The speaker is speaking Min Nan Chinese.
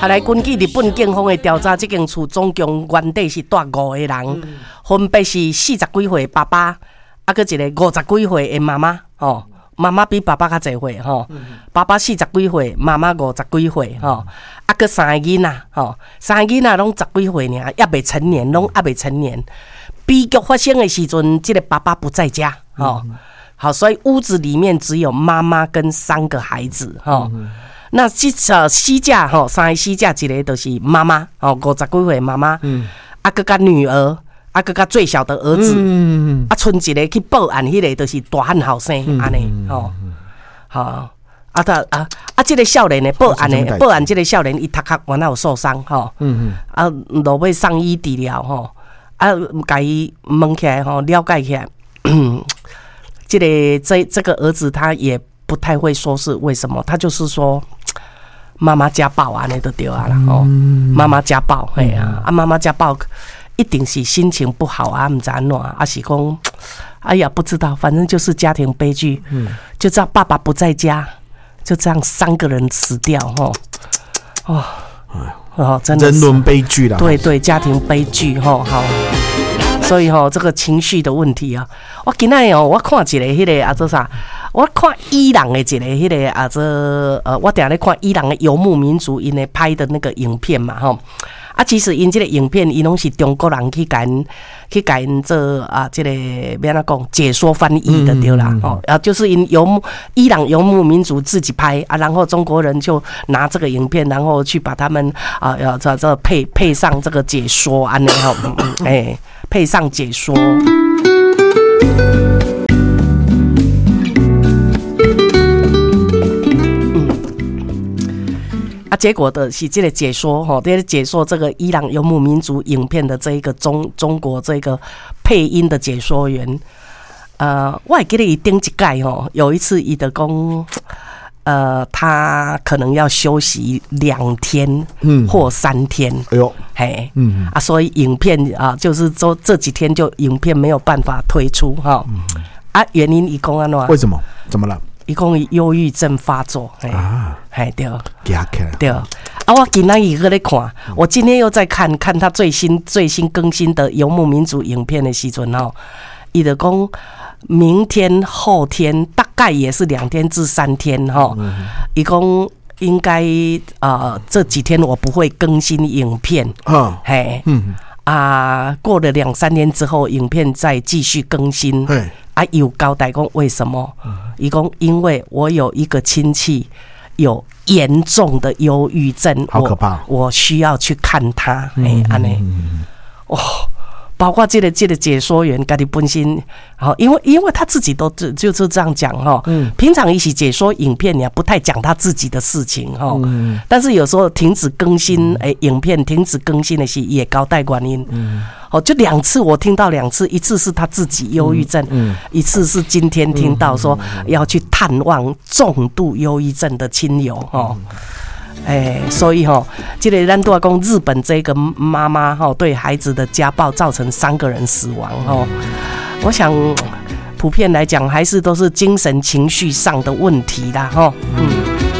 後來根據日本警方的調查，這間厝總共原底是蹛五個人，分別是四十幾歲爸爸，啊，閣一個五十幾歲的媽媽，吼，媽媽比爸爸較濟歲，吼，爸爸四十幾歲，媽媽五十幾歲，吼，啊，閣三个囡仔，吼，三个囡仔攏十幾歲爾，猶未成年，攏猶未成年。悲劇發生的時陣，這個爸爸不在家，吼，好，所以屋子裡面只有媽媽跟三個孩子，吼。那這死者吼，三个死者一个就是媽媽，吼，五十幾歲媽媽，啊，閣佮女兒，啊，閣佮最小的兒子，啊，賰一个去報案，彼个就是大漢後生，按呢，吼，好，啊，他啊啊，這个少年的報案的，報案這个少年伊頭殼原來有受傷，吼，啊，落尾送醫治療，吼，啊，共伊問起來，吼，了解起來，這个這個兒子他也不太會說是為什麼，他就是說媽媽家暴按呢就對啊啦，吼，媽媽家暴，嘿啊，啊媽媽家暴一定是心情不好啊，毋知按怎，啊是講，哎呀不知道，反正就是家庭悲劇，就這樣爸爸不在家，就這樣三個人死掉，吼，哦，哦，真的人倫悲劇啦，對對，家庭悲劇，吼，好。所以吼，這個情緒的問題啊，我今仔日哦，我看一个彼个啊做啥？我看伊朗的一个彼个啊做我定咧看伊朗的游牧民族𪜶咧拍的那個影片嘛吼。啊，其實𪜶這個影片，伊攏是中國人去共𪜶去共𪜶做啊，這個欲按怎講解說翻譯的對啦，吼，啊，就是𪜶游牧伊朗游牧民族自己拍啊，然後中國人就拿這個影片，然後去把他們啊，要這配上這個解說按呢吼，欸，配上解說。啊，結果的是這個解說吼，這個解說這個伊朗游牧民族影片的這一個中國這個配音的解說員，我會記得伊頂一屆吼，有一次伊就講，他可能要休息2天，或3天，哎呦，嘿，啊，所以影片啊，就是說這幾天就影片沒有辦法推出哈，啊，原因伊講按怎？為什麼？怎麼了？伊講伊憂鬱症發作，啊，嘿對，驚起來，對，啊，我今仔日閣咧看，我今天又在看看他最新最新更新的游牧民族影片的時陣吼，伊就講明天後天大概也是2天至3天吼，伊講應該這幾天我不會更新影片，嘿，啊，過了兩三天之後，影片再繼續更新。啊，有交代講為什麼？伊講因為我有一個親戚有嚴重的憂鬱症，好可怕，我需要去看他。欸，按呢，哦，包括這個解說員，家己本身，好，因為他自己都就是這樣講哈。平常一起解說影片，也不太講他自己的事情哈。但是有時候停止更新，欸，影片停止更新的是也交代原因。哦，就兩次我聽到兩次，一次是他自己憂鬱症，一次是今天聽到說要去探望重度憂鬱症的親友哦。欸，所以吼，這個咱拄仔講日本這個媽媽吼對孩子的家暴造成三個人死亡吼，我想普遍來講還是都是精神情緒上的問題啦吼。嗯。